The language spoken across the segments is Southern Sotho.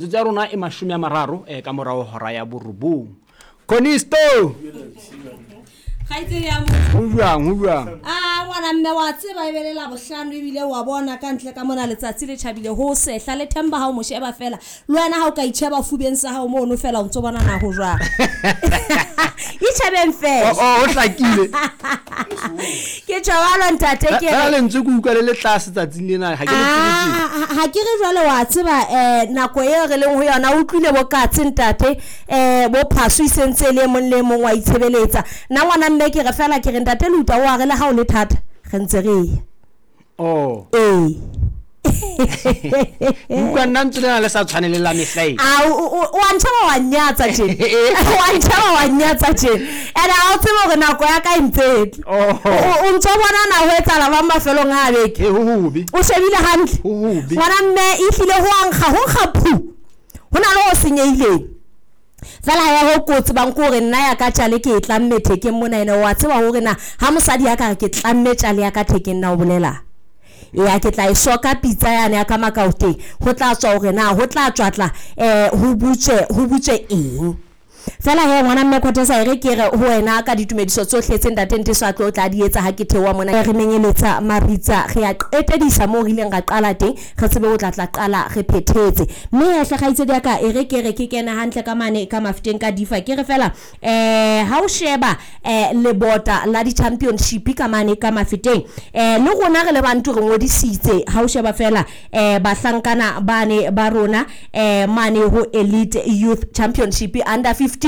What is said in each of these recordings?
Metsotso ya rona e 30 ka morago hora ya borobong. Conisto! Kgaitsedi ya motho. Ho jwang, ho jwang? A ngwana mme wa tseba e be le Labohlano ebile wa bona ka ntle ka mona letsatsi le tjhabile ho sehla le Themba ha o mo sheba fela le wena ha o ka itjheba fubeng sa hao mono fela o ntso bona na ho jwang. Itjhebeng fela. Oh, oh, ho hlakile. Ke tjho ntate ke Fela lentswe ke utlwa le le tlase tsatsing lena ha ke le tsebe tje. Ah, ha ke re jwale wa tseba um nako eo re leng ho yona o utlwile bo katse ntate um bo phaso e sentse e le e mong le e mong wa itshebeletsa. Nna ngwana mme ke re fela ke re ntate Luta o a re le ha o le thata re ntse re ya. Oh. Ee. Utlwa nna ntse lena le sa tshwane le la mehla e. A o a ntjheba wa nnyatsa tjena. O a ntjheba wa nnyatsa tjena. Ene ha o tsebe hore nako ya ka e ntse e tla. Oh. O ntso bona na ho etsahala jwang mafelong a beke. He ho hobe. O shebile hantle. Ho hobe. Ngwana mme ehlile ho a nkga, ho nkga phu. Ho na le ho senyehileng. Fela ya ho kotsi bang ke hore nna ya ka tjale ke e tlamme thekeng mona ene wa tseba hore na ha mosadi ya ka re ke tlamme tjale ya ka thekeng na o bolela. Ya ke tla e soka pitsa yane ya ka makaoteng ho tla tswa hore na ho tla tswa tla ho butswe ho butswe eng. Fela he ngwana mme Khotesa e re ke re ho wena ka ditumediso tsohle tse ntate Nteso a tlo tla di etsa ha ke theoha mona. Re menyeletsa maritsa re a qetedisa moo re ileng ra qala teng re tsebe ho tla tla qala re phethetse. Mme hle kgaitsedi ya ka e re ke re ke kene hantle ka mane ka Mafeteng ka Difa ke re fela ha o sheba lebota la di-championship ka mane ka Mafeteng le rona re le bantu re ngodisitse ha o sheba fela bahlankana bane ba rona mane ho Elite Youth Championship under 15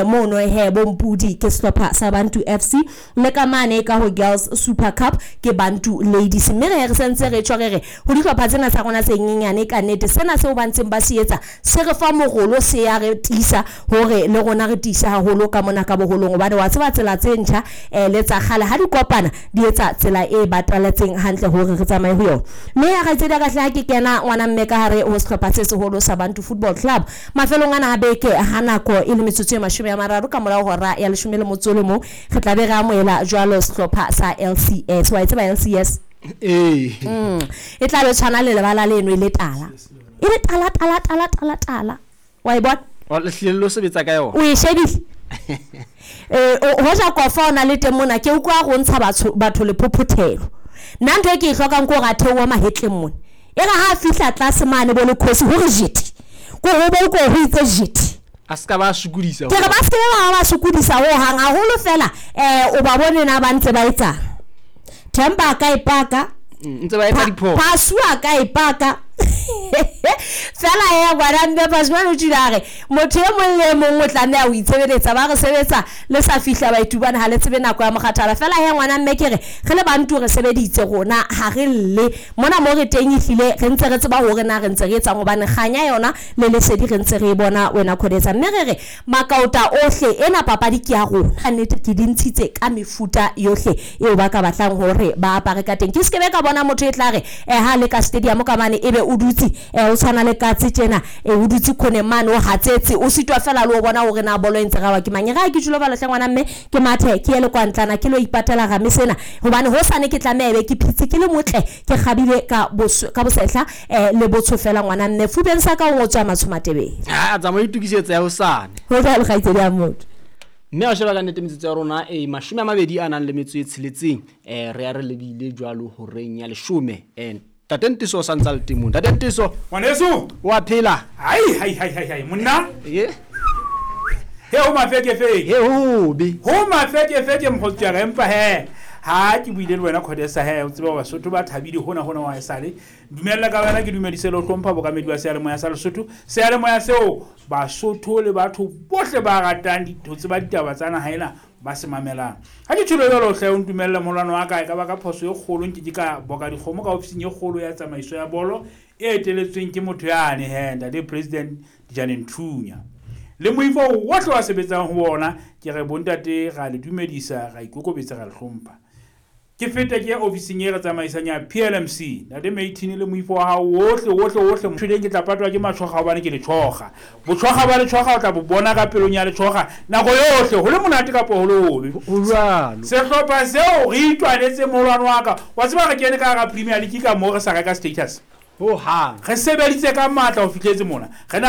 mono he bompudi ke sehlopha sa Bantu FC le ka mane ka ho Girls Super Cup ke Bantu Ladies. Mme re sentse re tjho re re ho dihlopha tsena tsa rona tse nyenyane ka nnete sena seo ba ntseng ba se etsa se re fa morolo se ya re tiisa hore le rona re tiise haholo ka mona ka boholong hobane wa tseba tsela tse ntjha le tsa kgale ha di kopana di etsa tsela e bataletseng hantle hore re tsamaye ho yona. Mme ya kgaitsedi ya ka hle ha ke kena ngwana mme ka hare ho sehlopha se seholo sa Bantu Football Club mafelong ana a beke ha nako e le metsotso e 30 ka morao hora ya 11 re tla be re amohela jwalo sehlopha sa LCS. Wa e tseba LCS? Ee. E tla be tshwana le lebala leno e le tala. E le tala tala tala tala tala. Wa e bona? O le hlile lo sebetsa ka yona. O e shebile? Hoja kofa o na le teng mona ke utlwa go ntsha batho le phophothelo. Nna ntho e ke e hlokang ke hore a theohe mahetleng mona. E re ha a fihla tlase mane bo le khosi hore jete. Ko ho bo ko ho itse jete. A ska ba sokodisa. Ke re ba se ba sokodisa ho hang haholo fela o ba bone na ba ntse ba etsang. Themba a ka e paka. Ntse ba etsa diphoso. Phasu a ka e paka. Fela ya ngwana mme Phasu o tjila re motho e mong le mong o tlameha ho itshebeletsa ba re sebetsa le sa fihla baitubana ha le tsebe nako ya mokgathala. Fela ya ngwana mme ke re re le bantu re sebeditse rona ha re lle mona mo re teng ehlile re ntse re tseba hore na re ntse re etsang hobane kganya yona le lesedi re ntse re e bona wena Khodetsa. Mme re re makaota ohle ena papadi ke ya rona ka nnete ke di ntshitse ka mefuta yohle eo ba ka batlang hore ba apare ka teng. Ke se ke be ka bona motho e tla re ha le ka stadium ka mane ebe o dutse o tshwana le katse tjena o dutse khoneng mane o hatsetse o sitwa fela le o bona hore na bolo e ntse rawa ke mang. Ra ke tjhulo balo hle ngwana mme ke mathe ke ye le kwa ntlana ke lo ipatela ga mesena hobane ho sane ke tlameha ebe ke phitse ke le motle ke kgabile ka bosehla le botsho fela ngwana mme fubeng sa ka o ngotswa matsho matebele. Ha tsamaya itokisetsa ya hosane. Ho jwalo kgaitsedi ya motho. Mme a sheba ka nnete metsotso ya rona e 26 a nang le metso e 6 re ya re lebile jwalo horeng ya 10. Ntate Nteso o sa ntsa le teng mona. Ntate Nteso. Ngwaneso. Wa phela? Hai hai hai hai hai monna. Ye. He ho mafekefeke. He hobe. Ho mafekefeke mokgotsi wa ka empa he ha ke buile le wena Khodesa he o tseba Basotho ba thabile hona hona wa esale. Dumella ka wena ke dumedise le ho hlompha bokamedi ba seyalemoya sa Lesotho. Seyalemoya seo Basotho le batho bohle ba ratang ho tseba ditaba tsa naha ena ba se mamelang. Ha ke tjholo jwalo hle o ntumelle molwano wa ka e ka ba ka phoso e kgolo nke ke ka boka dikgomo ka ofising e kgolo ya tsamaiso ya bolo e eteletsweng ke motho yane he ntate President Dijane Nthunya. Le moifo wohle wa sebetsang ho ona ke re bontate ra le dumedisa ra ikokobetsa ra le hlompha. Ke feta ke ya ofising e re tsamaisang ya PLMC. Ntate Maitini le moifo wa hao wohle wohle wohle motho ke tla patwa ke matshokga hobane ke letshokga. Botshokga ba letshokga o tla bo bona ka pelong ya letshokga nako yohle ho le monate kapa ho le hobe. Ho jwalo. Sehlopha seo re itwanetse molwano wa ka. Wa tseba re kene ka hara Premier League ka moo re sa reka status. Ho hang. Re sebeditse ka matla ho fihletse mona. Re na